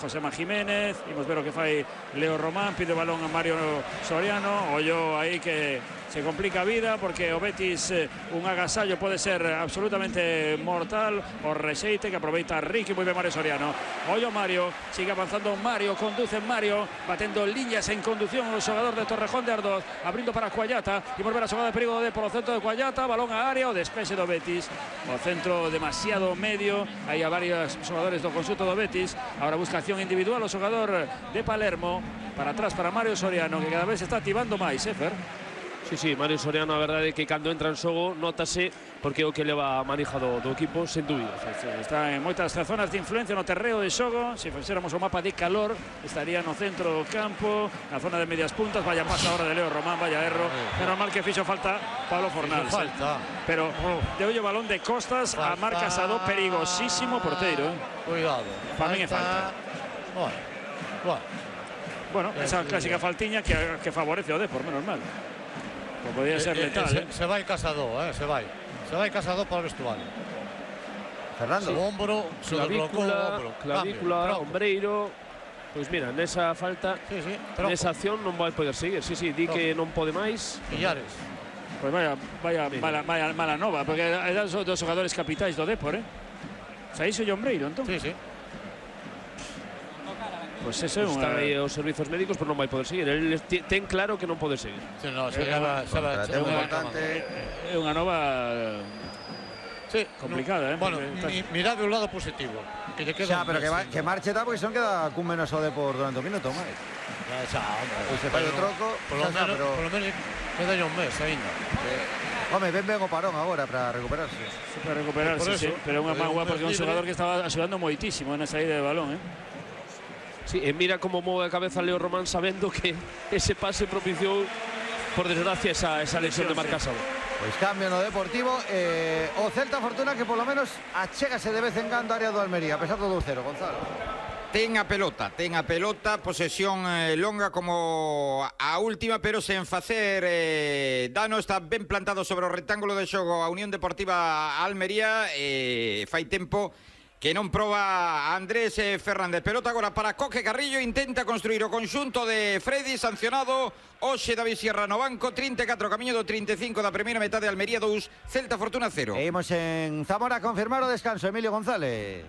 Josema Jiménez, imos ver o que fai Leo Román, pide o balón a Mario Soriano, ollo aí que se complica a vida porque o Betis un agasallo pode ser absolutamente mortal, o rexeite que aproveita Ricky, moi ben Mario Soriano, ollo Mario, sigue avanzando Mario, conduce Mario, batendo líneas en conducción o xogador de Torrejón de Ardoz, abrindo para Cuallata, e volver a xogada de perigo de polo centro de Cuallata, balón a área, o despexe do Betis, o centro demasiado medio, hai a varios xogadores do conxunto do Betis, agora busca individual o xogador de Palermo, para atrás para Mario Soriano, que cada vez se está activando máis, Fer? Sí, Mario Soriano, a verdade é que cando entra en xogo notase porque é o que leva manejado do equipo, sen dúbida. Está en moitas zonas de influencia no terreo de xogo, se fixéramos o mapa de calor, estaría no centro do campo, na zona de medias puntas, vaya pasa ahora de Leo Román, vaya erro, menos mal que fixo falta Pablo Fornals, pero de ollo balón de costas a Marc Casado, perigosísimo porteiro. Cuidado. Para mí é falta. Bueno, esa clásica faltiña que favorece o Depor, menos mal. Pues podría ser letal. Se vai Casado, se vai. Se vai Casado para o vestuario. Fernando. O hombro, clavícula, ombreiro. Pois mira, nesa falta, nesa acción non vai poder seguir. Di que non pode máis. Millares. Pois vaya mala nova, porque eran dos xogadores capitais do Depor, Saíso e ombreiro, entón. Sí. Pues eso está aí os servizos médicos, pero non vai poder seguir. El ten claro que non pode seguir. Sí, no, é unha nova complicada, Bueno, mirad un lado positivo. Que lle queda. Xa, pero que marche tal, porque son queda cun menos o de por durante un minuto máis. Se fai o troco, por lo menos queda un mes aínda. Home, ben o parón agora para recuperarse. Para recuperarse, sí, pero unha mágoa porque é un xogador que estaba axudando moitísimo na saída de balón, Sí, e mira como move a cabeza Leo Román sabendo que ese pase propiciou, por desgracia, esa lesión de Marc Casado. Pois cambio no Deportivo, o Celta Fortuna que polo menos achégase de vez en cando a área do Almería, a pesar do 2-0, Gonzalo. Ten a pelota, posesión longa como a última, pero sen facer dano, está ben plantado sobre o rectángulo de xogo a Unión Deportiva Almería, fai tempo que non proba Andrés Fernández. Pelota agora para Coque Carrillo, intenta construir o conxunto de Freddy, sancionado hoxe David Sierra no banco, 34 camiño do 35 da primeira metade, Almería 2, Celta Fortuna 0. E imos en Zamora a confirmar o descanso, Emilio González.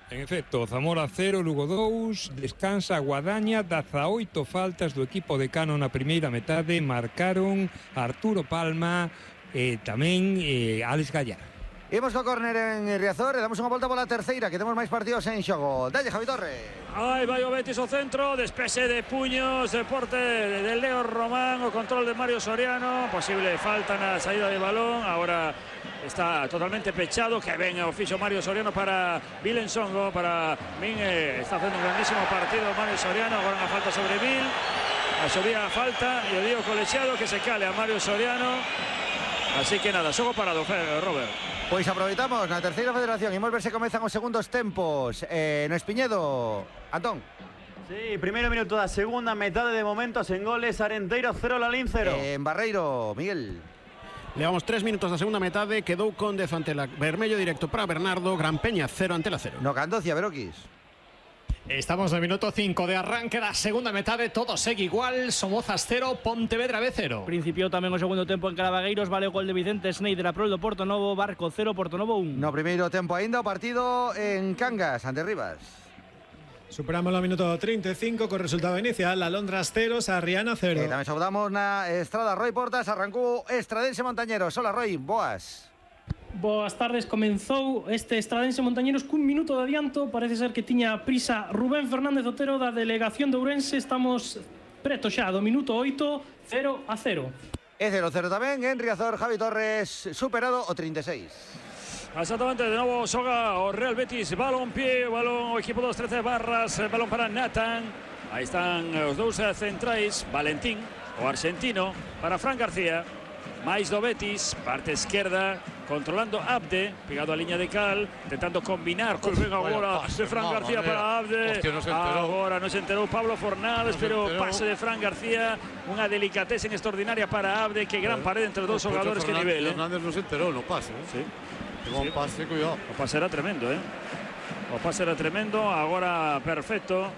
En efecto, Zamora 0, Lugo 2, descansa Guadaña, 18 faltas do equipo de Cano na primeira metade, marcaron Arturo Palma e tamén Alex Gallar. Imos co córner en Riazor e damos unha volta pola terceira, que temos máis partidos en xogo. Dalle, Javi Torres. Aí vai o Betis ao centro, despexe de puños, deporte de Leo Román, o control de Mario Soriano, posible falta na saída de balón, agora está totalmente pechado, que ven o fixo Mario Soriano para Vilen Songo, para min, está facendo un grandísimo partido Mario Soriano, agora unha falta sobre Vil, asubía a falta e o dio colexiado que se cale a Mario Soriano, así que nada, xogo parado, Robert. Pois aproveitamos na terceira federación. Imos ver se comezan os segundos tempos. No Espiñedo, Antón. Sí, primeiro minuto da segunda metade de momentos en goles. Arenteiro 0, Lalín 0. En Barreiro, Miguel. Levamos 3 minutos da segunda metade. Quedou Conde ante la Vermello directo para Bernardo. Gran Peña 0 ante la 0. No Candocia, Beroquis. Estamos en el minuto 5 de arranque da segunda metade, todo segue igual, Somozas 0, Pontevedra B 0. Principiou tamén o segundo tempo en Carabagueiros, vale o gol de Vicente Schneider a prol do Portonovo, Barco 0, Portonovo 1. No primeiro tempo aínda o partido en Cangas, ante Rivas. Superamos o minuto 35 co resultado inicial, Alondras 0, Sarriana 0. Tamén saudamos na Estrada Roy Portas, arrancou Estradense Montañeros. Hola Roy, boas. Boas tardes, comenzou este Estradense Montañeros cun minuto de adianto, parece ser que tiña prisa Rubén Fernández Otero da delegación de Ourense, estamos preto xa do minuto 8, 0-0. E 0-0 tamén en Riazor, Javi Torres, superado o 36. Exactamente, de novo xoga o Real Betis, balón pie, balón o equipo dos 13 barras, balón para Nathan, aí están os dous centrais, Valentín, o argentino, para Fran García, máis do Betis, parte esquerda, controlando Abde, pegado a línea de cal, intentando combinar con agora de Fran García para Abde. Agora non se enterou Pablo Fornals, pero pase de Fran García, unha delicatesen extraordinaria para Abde, que gran pared entre os dous xogadores, que nivel. Fernández non se enterou no pase, Sí. Un pase, cuidado. O pase era tremendo, O pase era tremendo, agora perfecto.